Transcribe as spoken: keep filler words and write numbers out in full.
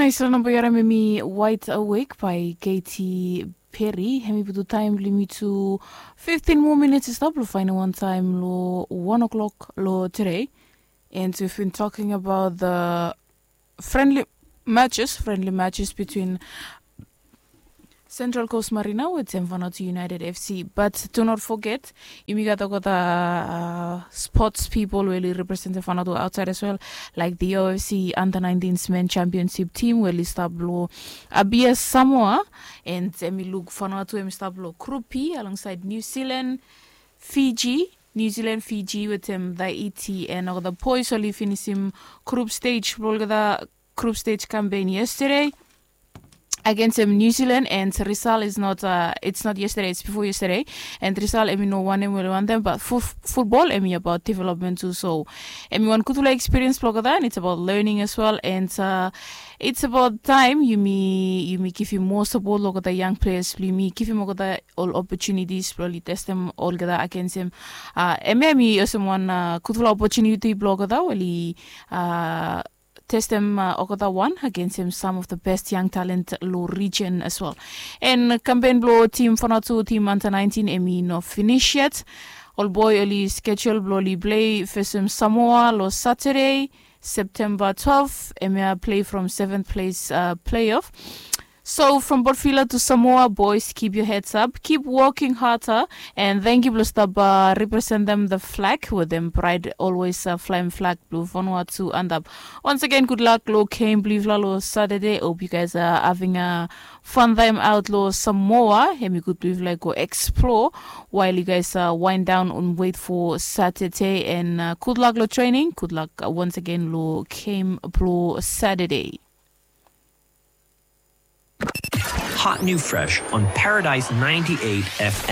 Nais long namba yu harim em i Wide Awake by Katy Perry. Em i putum taem blong yumi tu fiftin moa minits i stap long faenem wan taem long wan o'clock long today. And we've been talking about the friendly matches, friendly matches between Central Coast Marina wetem Vanuatu United F C. But do not forget, yumi gat olgeta uh, sports people we oli representem Vanuatu outside as well, like the O F C under nineteen men championship team we oli stap long Apia, Samoa. And em i luk Vanuatu em i stap long Group B alongside New Zealand, Fiji, New Zealand, Fiji wetem Tahiti, and olgeta boys oli finisim group stage blong olgeta group stage campaign yesterday against em New Zealand, and result is not uh, it's not yesterday, it's before yesterday. And result em i no wanem we oli wantem, but fu- football em i about development tu. So em i wan gudfala experience blong olgeta, and it's about learning as well. And uh, it's about time yumi yumi givim moa support long olgeta young players blong yumi, givim olgeta ol opportunities blong oli testem olgeta against em. Uh, em em i olsem wan uh, gudfala opportunity blong olgeta we oli uh, testem uh, olgeta wan against em some of the best young talent long region as well. And campaign blong team Vanuatu, team under nineteen, em i no finish yet. Ol boy oli schedule blong oli play facem Samoa long Saturday, September twelve. Em ia play from seventh place uh, playoff. So from Port Vila to Samoa, boys, keep your heads up, keep working harder, and thank you blong stap uh, representem the flag wetem pride, always uh, flaem flag blong Vanuatu antap. Once again, good luck long game blong yufala long Saturday. Hope you guys are having a fun time out long Samoa. Em i gud blong yufala go explore while you guys uh, wind down and wait for Saturday. And uh, good luck long training. Good luck uh, once again long game blong Saturday. Hot new fresh on Paradise ninety-eight F M.